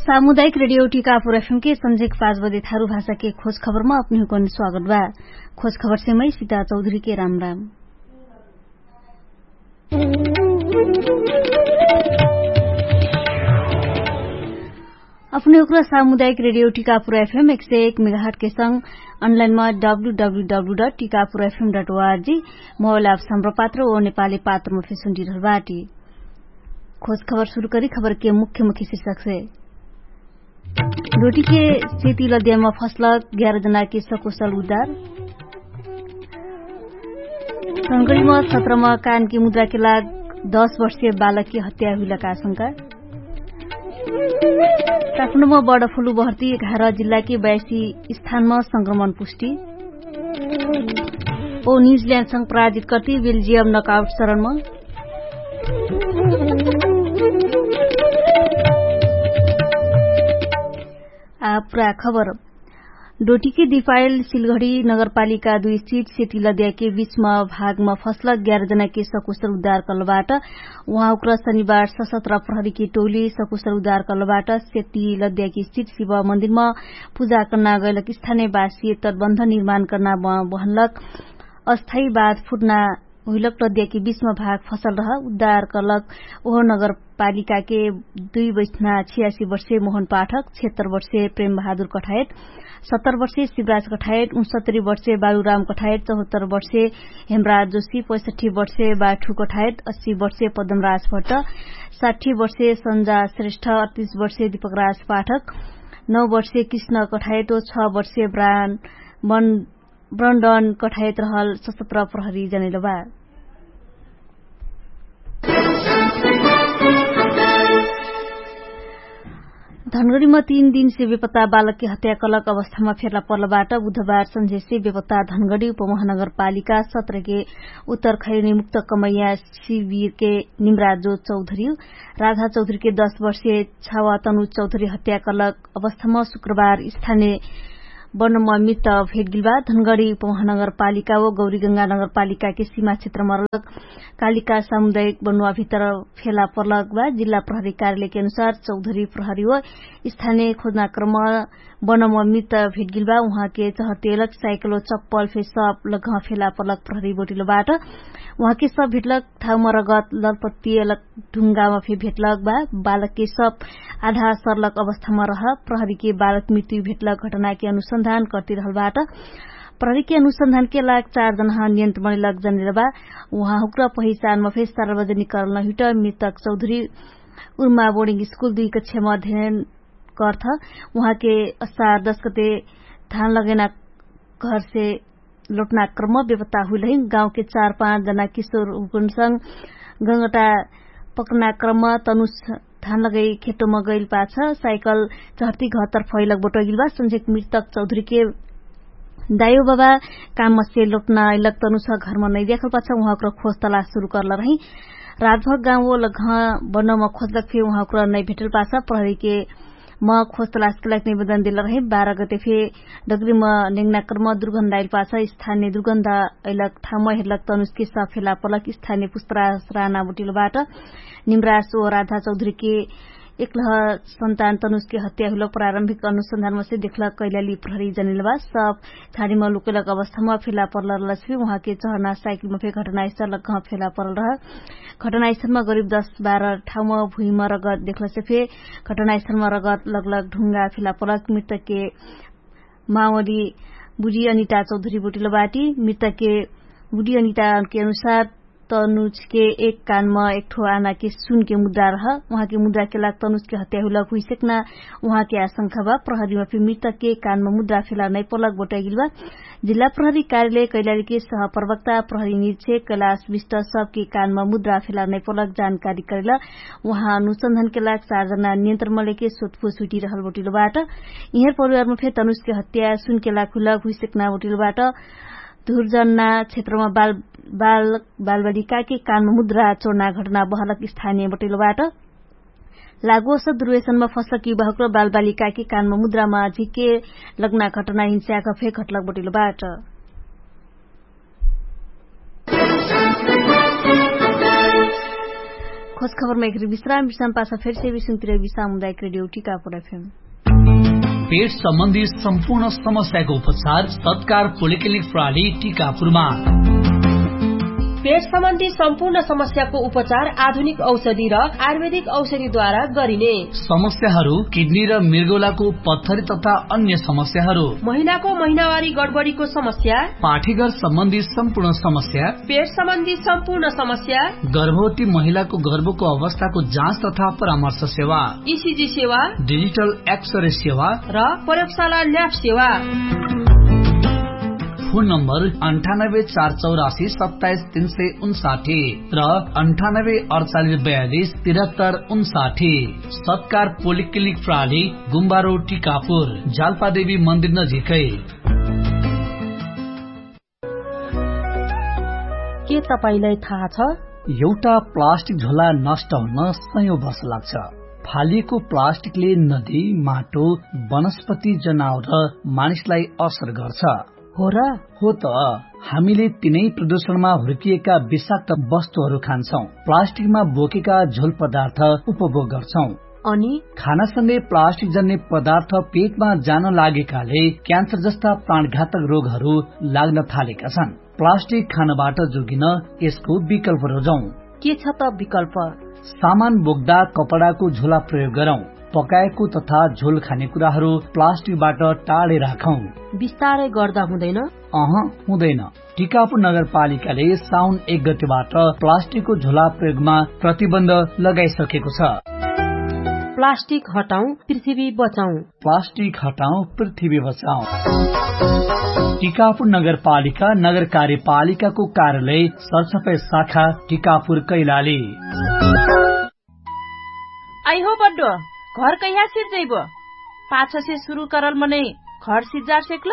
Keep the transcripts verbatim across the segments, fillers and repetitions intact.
सामुदायिक रेडियो टिकापुर एफएम के संझेक पाँच बजे थारु भाषा के खोज खबरमा अपनिहुकन स्वागत बा। खोज खबर से मै सिता चौधरी के राम राम। अपने उक्रा सामुदायिक रेडियो टिकापुर एफएम एक सय एक मेगाहट के संग अनलाइनमा W W W dot Tikapur FM dot ORG mobile app सम्प्र पात्र ओ नेपाली पात्रमा फेसुन्डी रहल बाटी। खोज खबर सुरु करी खबर के मुख्य मुख्य शीर्षक से। डोटी के सेती लद्यामा फसलक ग्यारह जना के सकुशल उद्धार। संगडीमा सत्रमा कान के मुद्रा के लाग दस वर्षीय बालक के हत्या हुइलक आशंका। काठमाडौँमा बडफुलु बहर्ती एघार जिल्ला के बयासी स्थानमा संक्रमण पुष्टि। ओ न्युजिल्यान्डसँग पराजित कर्ती बेल्जियम नकआउट चरणमा। आ पुरा खबर। डोटीके दिपाइल सिलघडी नगरपालिका दुई स्थित सेती लद्याके बीचमा भागमा फसलक ग्यारह जनाके सकुशल उद्धार कलबाट। उहाँ उक्र शनिबार सशस्त्र प्रहरीके टोली सकुशल उद्धार कलबाट। सेती लद्याके स्थित शिव मन्दिरमा पुजा कर्ना गैलक स्थाने बासिय तटबन्ध निर्माण कर्ना बहनलक अस्थायी बाद फुट्ना हुइलक लद्याके बीचमा भाग फसल रह उद्धार कलक। ओहो नगरपालिकाके दुई बैठना छियासी वर्षे मोहन पाठक, छिहत्तर वर्षे प्रेम बहादुर कठायत, सत्तर वर्षे शिवराज कठायत, उनसत्तरी वर्षे बालुराम कठायत, चौहत्तर वर्षे हेमराज जोशी, पैसठी वर्षे बाठु कठायत, अस्सी वर्षे पदमराज भट्ट, साठी वर्षे सन्जा श्रेष्ठ, अडतिस वर्षे दीपकराज पाठक, नौ वर्षे कृष्ण कठायत ओ छ वर्षे ब्रान ब्रन्डन कठायत रहल सशस्त्र प्रहरी जनैलबा। धनगडीमा तीन दिनसे बेपत्ता बालकके हत्या कलक अवस्थामा फेर्ला पर्लबाट बुधबार सन्झेसे बेपत्ता धनगडी उपमहानगरपालिका सत्रके उत्तर खैनी मुक्त कमैया शिविरके निम्राजो चौधरी राधा चौधरीके दस वर्षे छावा तनु चौधरी हत्या कलक अवस्थामा शुक्रबार स्थाने बनम मित भेटगिल बा। धनगडी उपमहानगरपालिका ओ गौरीगंगा नगरपालिकाके सीमा क्षेत्रमा रलक कालिका सामुदायिक बनुवा भित्र फेला पर्लक बा। जिल्ला प्रहरी कार्यालयके अनुसार चौधरी प्रहरी ओ स्थाने खोजना क्रम बनम मित भेटगिल बा। उहाँके चहतेलक साइकलो चप्पल फे सब लग्ह फेला पर्लक प्रहरी बोटिलो बाट। उहाँके सब भेटलक ठाउमा रगत ललपत्तियलक ढुङ्गामा फे भेटलक बा। बालकके सब आधा सर्लक अवस्थामा रह प्रहरीके बालक मृत्यु भेटलक घटनाके अनुसन्धान कर्तिरहल बाट। प्रहरीके अनुसन्धानके लाग चार जनाह नियन्त्रण लग जनेर बा। उहाँ हुक्र पहिचानमा फे सार्वजनिक करल नहिट मृतक चौधरी उर्मा बोर्डिङ स्कुल दुई कक्षामा अध्ययन कर्थ। उहाँके असार दस गते धान लगैना घरसे लोटना क्रम बेपत्ता हुइलही गाउँके चार पाँच जना किशोर हुकुनसँग गङ्गटा पक्रना क्रम तनुस धान लगै खेटोमा गैल पाछ साइकल चहर्ती घरतर्फ अइलक बोटगिल बा। सन्झेक मृतक चौधरीके दायो बाबा कामसे लोटना अइलक तनुस घरमा नै देखल पाछ उहाँक्र खोज तलास सुरु कर्ल रही। रातभर गाउँओ लग्ह बनम खोजलक फे उहाँक्र नै भेटल पाछ प्रहरीके म खोज तलासके लाग निवेदन देल रहे। बाह्र गते फे डगरीम नेङ्ना कर्म दुर्गन्ध आइल पाछ स्थानिय दुर्गन्ध अइलक ठाउँम हेर्लक तनुसके सब फेला पर्लक स्थानिय पुस्तरा राना बोटिलो बाट। निम्रास ओ राधा चौधरीके एकलह सन्तान तनुसके हत्या हुइलक प्रारम्भिक अनुसन्धानमसे देखलक कैलाली प्रहरी जनिल बा। सब छाडीम लुकैलक अवस्थाम फेला पर्ल रहलस फे उहाँके चहना साइकिलम फे घटनास्थल लग्ह फेला पर्ल रह। घटनास्थलमा गरिब दस बाह्र ठाउँमा भुइँमा रगत देखलसे फे घटनास्थलमा रगत लगलग ढुङ्गा फेला पर्लक मृतकके मावली बुढी अनिता चौधरी बोटिलो बाटी। मृतकके बुढी अनिताके अनुसार तनुजके एक कानमा एकठो आनाके सुनके मुद्रा रह। उहाँके मुद्राके लाग तनुजके हत्या हुइलक हुइसेक्ना उहाँके आशंका बा। प्रहरीमा फे मृतकके कानमा मुद्रा फेला नै पर्लक बोटाइगिल बा। जिल्ला प्रहरी कार्यालय कैलालीके सहप्रवक्ता प्रहरी निरीक्षक कैलाश विष्ट सबके कानमा मुद्रा फेला नै पर्लक जानकारी करेल। उहाँ अनुसन्धानके लाग चार जना नियन्त्रणमा लेके सोधपुछ हुइटिरहल बोटिलो बाट। इहेर परिवारमा फे तनुसके हत्या सुनके लाग हुइलक हुइसेक्ना बोटिलो बाट। धुर्जना क्षेत्रमा बाल बालबालिकाके कानमा मुद्रा चोर्ना घटना बहलक स्थानिय बोटिलो बाट। लागोस दुर्वेशनमा फसलक युवाहुक्र बालबालिकाके कानमा मुद्रामा झिके लग्ना घटना हिंस्याक फे घटलक बोटिलो बाट। खबरमा एकरी विश्राम विश्राम पाछा फेरसे विश्राम तिरवी सामुदायक रेडियो टिकापुर एफएम। पेट सम्बन्धी सम्पूर्ण समस्याको उपचार सत्कार पोलिक्लिनिक प्राली टिकापुरमा। पेट सम्बन्धी सम्पूर्ण समस्याको उपचार आधुनिक औषधि र आयुर्वेदिक औषधिद्वारा गरिने। समस्याहरू किडनी र मृगौलाको पत्थरी तथा अन्य समस्याहरू, महिलाको महिनावारी गडबडीको समस्या, पाठीघर सम्बन्धी सम्पूर्ण समस्या, पेट सम्बन्धी सम्पूर्ण समस्या, गर्भवती महिलाको गर्भको अवस्थाको जाँच तथा परामर्श सेवा, इसिजी सेवा, डिजिटल एक्सरे सेवा र प्रयोगशाला ल्याब सेवा। फोन नम्बर अन्ठानब्बे चार चौरासी सत्ताइस तीन सय उन्साठी र अन्ठानब्बे अडचालिस बयालिस तिरहत्तर उन्साठी। सत्कार पोलिक्लिनिक प्राली, गुम्बारो टिकापुर, जालपादेवी मन्दिर नजिकै। के तपाईंलाई थाहा छ? एउटा प्लास्टिक झोला नष्ट हुन सयौं वर्ष लाग्छ। फालिएको प्लास्टिकले नदी, माटो, वनस्पति, जनावर र मानिसलाई असर गर्छ। हो र? हो त। हामीले तिनै प्रदूषणमा हुर्किएका विषाक्त वस्तुहरू खान्छौं, प्लास्टिकमा बोकेका झोल पदार्थ उपभोग गर्छौं। अनि खानासँगै प्लास्टिक जन्ने पदार्थ पेटमा जान लागेकाले क्यान्सर जस्ता प्राणघातक रोगहरू लाग्न थालेका छन्। प्लास्टिक खानबाट जोगिन यसको विकल्प रोजौं। के छ त विकल्प? सामान बोक्दा कपडाको झोला प्रयोग गरौं। पकाएको तथा झोल खाने कुराहरू प्लास्टिकबाट टाढै राखौं। बिस्तारै गर्दा हुँदैन? अह, हुँदैन। टिकापुर नगरपालिकाले साउन एक गतिबाट प्लास्टिकको झोला प्रयोगमा प्रतिबन्ध लगाइसकेको छ। प्लास्टिक हटाउँ, पृथ्वी बचाउँ। प्लास्टिक हटाउँ, पृथ्वी बचाउँ। टिकापुर नगरपालिका नगर कार्यपालिकाको कार्यालय सरसफाइ शाखा टिकापुर कैलाली। अइहो बड्डो, घर कैहा सिर्जैबो? पाछसे सुरु करल मनै घर सिर्जार सेक्ल?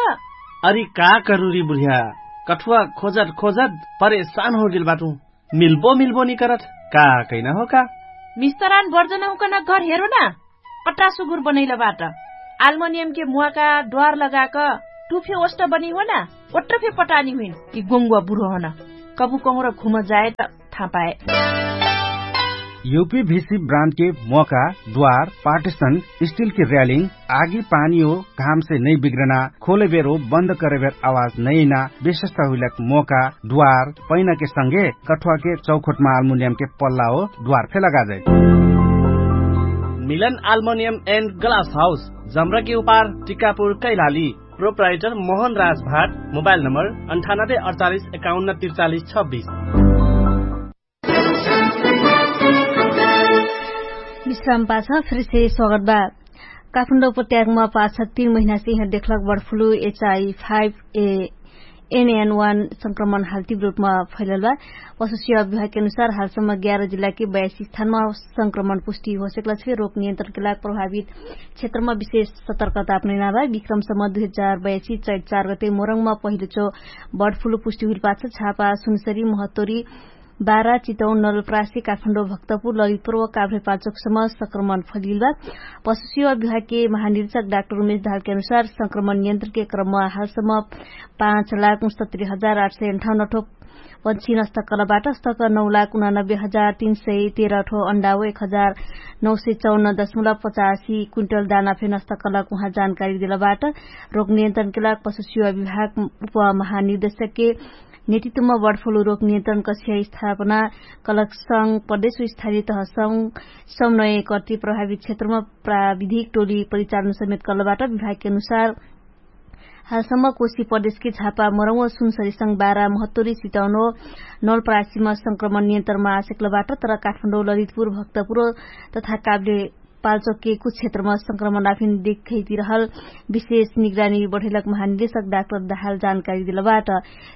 अरि का करुरी बुढिया, कठुवा खोजत खोजत परेशान होगेल बाटु। मिल्बो मिल्बो निकरत, का कैना हो का? मिस्तरान बर्जन हुकन घर हेरो ना। पट्टा सुगुर बनैल बाट। आल्मोनियम के मुवाका द्वार लगाक टुफे ओष्ट बनी हो ना। ओट्ट फे पटानी हुइन कि गोङ्गुवा बुढो हन। कबु कहुँर घुम जाए त थाहा पाए। युपी भिसी ब्रान्ड के मोका, द्वार, पार्टिसन, स्टिल के र्यालिङ, आगी पानी हो घाम से नै बिग्रना, खोले बेर हो बन्द करे बेर आवाज नै ना, विशेषता हुइलक मोका, द्वार, पैना के संगे कठुवा के चौखोट मा आल्मुनियम के पल्ला हो द्वार फे लगा जाए। मिलन आल्मुनियम एन्ड ग्लास हाउस, जमरा के उपार, टिकापुर कैलाली। प्रोप्राइटर मोहन राज भाट। मोबाइल नम्बर अन्ठानब्बे अडचालिस एकाउन्न त्रिचालिस छब्बिस। विश्राम पाछ फिरसे स्वागत बा। काठमाडौं उपत्यकामा पाछ तीन महिनासे यहाँ देखलक बर्ड फ्लू एचआई फाइभ ए एनएन वान संक्रमण हाल तीव्र रूपमा फैलल बा। पशु सेवा विभागके अनुसार हालसम्म ग्यारह जिल्लाके बयासी स्थानमा संक्रमण पुष्टि होसेकला छे। रोग नियन्त्रणके लाग प्रभावित क्षेत्रमा विशेष सतर्कता अपनैना बा। विक्रमसम्म दुई हजार बयासी चैत चार गते मोरङमा पहिलो चो बर्ड फ्लू पुष्टि हुइल पाछ झापा सुनसरी महतोरी बारा चितौन नलप्रासी काठमाडौं भक्तपुर ललितपुर व काभ्रे पाल्चोकसम्म संक्रमण फलिल बा। पशु सेवा विभागके महानिरीक्षक डाक्टर उमेश धालके अनुसार संक्रमण नियन्त्रणके क्रममा हालसम्म पाँच लाख उनसत्तरी हजार आठ सय अन्ठाउन्न ठो पन्छी नष्ट कलबाट स्तक नौ लाख उनानब्बे हजार तीन सय तेह्र ठो अण्डा व एक हजार नौ सय चौन्न दशमलव पचासी क्विन्टल दाना फे नष्ट कलक उहाँ जानकारी देलबाट। रोग नियन्त्रणके लाग पशु सेवा विभाग उपमहानिर्देशकके नेतृत्वमा बर्ड फ्लू रोग नियन्त्रण कक्षा स्थापना कलक संग प्रदेश स्थानीय तह संग समन्वय कर्ति प्रभावित क्षेत्रमा प्राविधिक टोली परिचालन समेत कलबाट। विभागके अनुसार हालसम्म कोशी प्रदेशके झापा मोरङ व सुनसरी संग बारा महत्तोरी सितौनो नलप्रासीमा संक्रमण नियन्त्रणमा आसेकलबाट तर काठमाडौं ललितपुर भक्तपुर तथा काभ्रे पाल्चोकके कुछ क्षेत्रमा संक्रमण आफिन देखैतिरहल विशेष निगरानी बढैलक महानिर्देशक डाक्टर दाहाल जानकारी देलबाट।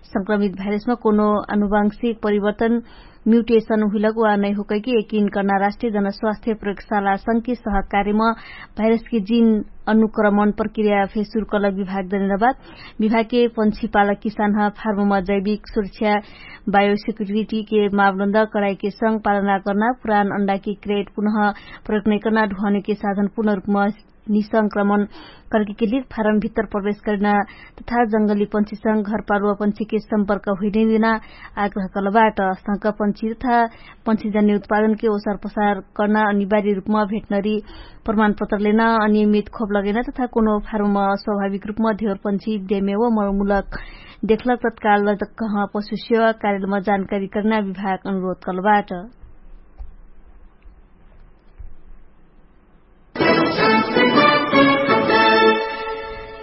संक्रमित भाइरसमा कोनो आनुवंशिक परिवर्तन म्युटेसन हुइलक वा नै होकैके यकिन कर्ना राष्ट्रिय जनस्वास्थ्य प्रयोगशाला संके सहकार्यमा भाइरसके जिन अनुक्रमण प्रक्रिया फे सुरु कलक विभाग दनिलबाट। विभागके पन्छी पालक किसानह फार्ममा जैविक सुरक्षा बायोसिक्युरिटीके मापदण्ड कडाइके संग पालना कर्ना पुरान अण्डाके क्रेट पुनः प्रयोग नैकर्ना ढुवानेके साधन पुर्ण रूपमा निसंक्रमण करके किलिक फारम भित्तर प्रवेश करिना तथा जंगली पन्छीसँग घरपालुवा पन्छीके सम्पर्क हुइने दिना आग्रह कलबाट। संक पन्छी तथा पन्छीजन्य उत्पादनके ओसर पसार कर्ना अनिवार्य रुपमा भेटनरी प्रमाणपत्र लेना अनियमित खोप लगेना तथा कोनो फारममा स्वाभाविक रुपमा धेवर पन्छी देमे व मलक देखलक तत्काल कहाँ पशु सेवा कार्यलमा जानकारी कर्ना विभाग अनुरोध कलबाट।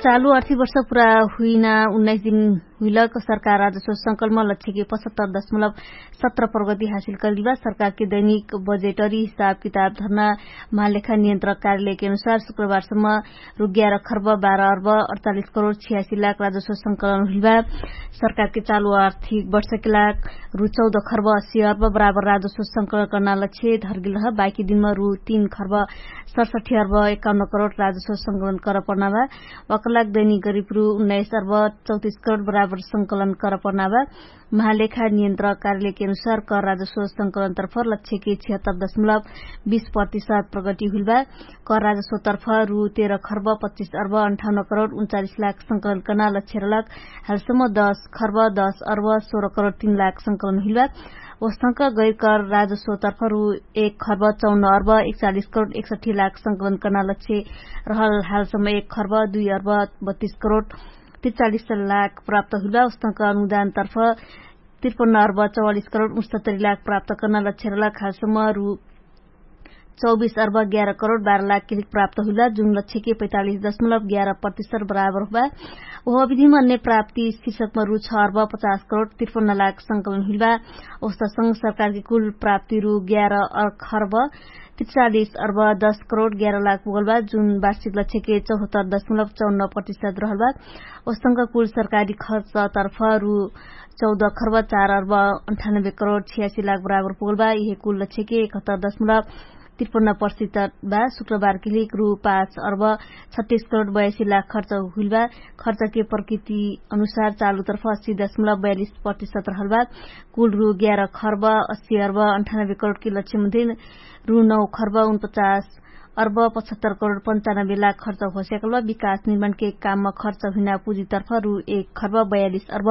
चालु आर्थिक वर्ष पुरा हुइना उन्नाइस दिन हुइलक सरकार राजस्व संकलनमा लक्ष्यके पचहत्तर दशमलब सत्र प्रगति हासिल करिलबा। सरकारके दैनिक बजेटरी हिसाब किताब धर्ना महालेखा नियन्त्रक कार्यालयके अनुसार शुक्रबारसम्म रुग्यार खर्ब बाह्र अर्ब अडचालिस करोड छियासी लाख राजस्व संकलन हुइलबा। सरकारके चालु आर्थिक वर्षके लाग रु चौध खर्ब अस्सी अर्ब बराबर राजस्व संकलन कर्ना लक्ष्य धर्गिल ह। बाकी दिनमा रु तीन खर्ब सडसठी अर्ब एकाउन्न करोड राजस्व संकलन कर पर्ना बा। वकलाग दैनिक गरिब रु उन्नाइस अर्ब चौतिस करोड बराबर संकलन कर पर्ना बा। महालेखा नियन्त्रक कार्यालयके अनुसार कर राजस्व संकलन तर्फ लक्ष्यके छिहत्तर दशमलब बीस प्रतिशत प्रगति हुइलबा। कर राजस्व तर्फ रु तेह्र खर्ब पच्चिस अर्ब अन्ठाउन्न करोड उन्चालिस लाख संकलन कर्ना लक्ष्य रहलक। हालसम्म दस खर्ब दस अर्ब सोह्र करोड तीन लाख संकलन हुइलबा। ओसंक गैर कर राजस्व तर्फ रु एक खर्ब चौन्न अर्ब एकचालिस करोड एकसठी लाख संकलन कर्ना लक्ष्य रहल। हालसम्म एक खर्ब दुई अर्ब बत्तिस करोड तिचालिस लाख प्राप्त हुइलबा। ओसंक अनुदान तर्फ तिरपन्न अर्ब चौवालिस करोड उनसत्तरी लाख प्राप्त कर्ना लक्ष्य रहलक। हालसम्म रु चौबिस अर्ब ग्यार करोड बाह्र लाख किलिक प्राप्त हुइलबा जुन लक्ष्यके पैतालिस दशमलब ग्यार प्रतिशत बराबर हुइलबा। ओह अविधिमा अन्य प्राप्ति शीर्षकमा रु छ अर्ब पचास करोड तिरपन्न लाख संकलन हुइलबा। ओसंक सरकारके कुल प्राप्ति रु ग्यार खर्ब तिचालिस अर्ब दस करोड ग्यार लाख पुगलबा जुन वार्षिक लक्ष्यके चौहत्तर दशमलब चौन्न प्रतिशत रहलबा। ओसंक कुल सरकारी खर्च तर्फ रु चौध खर्ब चार अर्ब अन्ठानब्बे करोड छियासी लाख बराबर पुगलबा। इहे कुल लक्ष्यके एकहत्तर दशमलब तिरपन्न प्रतिशत बा। शुक्रबार किलिक रु पाँच अर्ब छत्तिस करोड बयासी लाख खर्च हुइलबा। खर्चके प्रकृति अनुसार चालु तर्फ अस्सी दशमलब बयालिस प्रतिशत रहलबा। कुल रु ग्यार खर्ब अस्सी अर्ब अन्ठानब्बे करोडके लक्ष्य मध्ये रु नौ खर्ब उनपचास अर्ब पचहत्तर करोड पन्चानब्बे लाख खर्च होस्याकलबा। विकास निर्माणके काममा खर्च हुइना पुँजीतर्फ रु एक खर्ब बयालिस अर्ब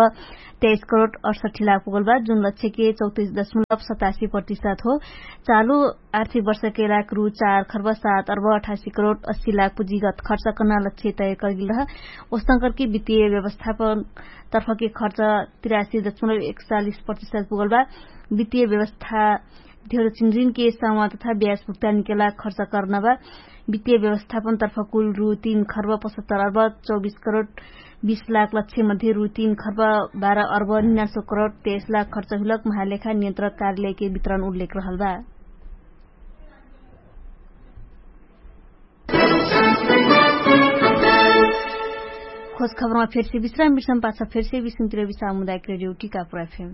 तेइस करोड अडसठी लाख पुगलबा जुन लक्ष्यके चौतिस दशमलब सतासी प्रतिशत हो। चालु आर्थिक वर्षके लाग रु चार खर्ब सात अर्ब अठासी करोड अस्सी लाख पुँजीगत खर्च कर्ना लक्ष्य तय करगिल रह। ओसंकरके वित्तीय व्यवस्थापन तर्फके खर्च तिरासी दशमलब एकचालिस प्रतिशत पुगलबा। वित्तीय व्यवस्था धेर चिनरिनके सामा तथा ब्याज भुक्तानीके लाग खर्च कर्ना बा। वित्तीय व्यवस्थापन तर्फ कुल रु तीन खर्ब पचहत्तर अर्ब चौबिस करोड बीस लाख लक्ष्य मध्ये रु तीन खर्ब बाह्र अर्ब निनासो करोड तेइस लाख खर्च हुइलक महालेखा नियन्त्रक कार्यालयके वितरण उल्लेख रहलबा। खोज खबरमा फेरसे विश्राम विश्राम पाछ फेरसे विश्राम तिर विश्राम मुदायक रेडियो टिकापुर एफएम।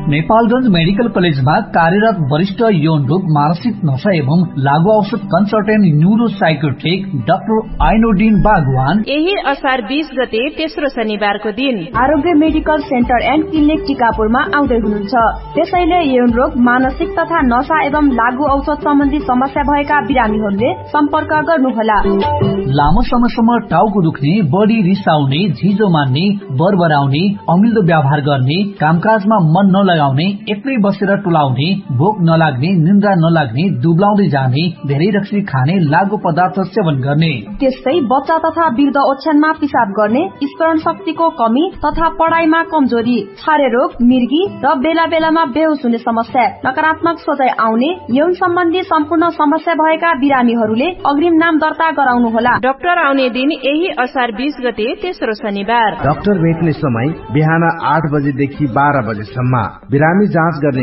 नेपालगंज मेडिकल कलेजमा कार्यरत वरिष्ठ यौन रोग मानसिक नशा एवं लागु औषध कन्सल्टेन्ट न्युरोसाइकोट्रिक डाक्टर आइनोडिन बागवान यही असार बीस गते तेस्रो शनिबारको दिन आरोग्य मेडिकल सेन्टर एन्ड क्लिनिक टिकापुरमा आउँदै हुनुहुन्छ। त्यसैले यौन रोग मानसिक तथा नशा एवं लागु औषध सम्बन्धी समस्या भएका बिरामीहरूले सम्पर्क गर्नुहोला। लामो समयसम्म टाउको दुख्ने, बढी रिसाउने, झिजो मान्ने, बरबराउने, अमिल्दो व्यवहार गर्ने, कामकाजमा मन नलगाउने, एक्लै बसेर टुलाउने, भोक नलाग्ने, निन्द्रा नलाग्ने, दुब्लाउँदै जाने, धेरै रक्सी खाने, लागु पदार्थ सेवन गर्ने। त्यस्तै बच्चा तथा वृद्ध ओछ्यानमा पिसाब गर्ने, स्मरण शक्तिको कमी तथा पढाइमा कमजोरी, छारे रोग, मिर्गी र बेला बेलामा बेहोस हुने समस्या, नकारात्मक सोचाइ आउने, यौन सम्बन्धी सम्पूर्ण समस्या भएका बिरामीहरूले अग्रिम नाम दर्ता गराउनु होला। डाक्टर आउने दिन यही असार बीस गते तेस्रो शनिबार। डाक्टर भेट्ने समय बिहान आठ बजेदेखि बाह्र बजेसम्म। बिरामी जाँच गर्ने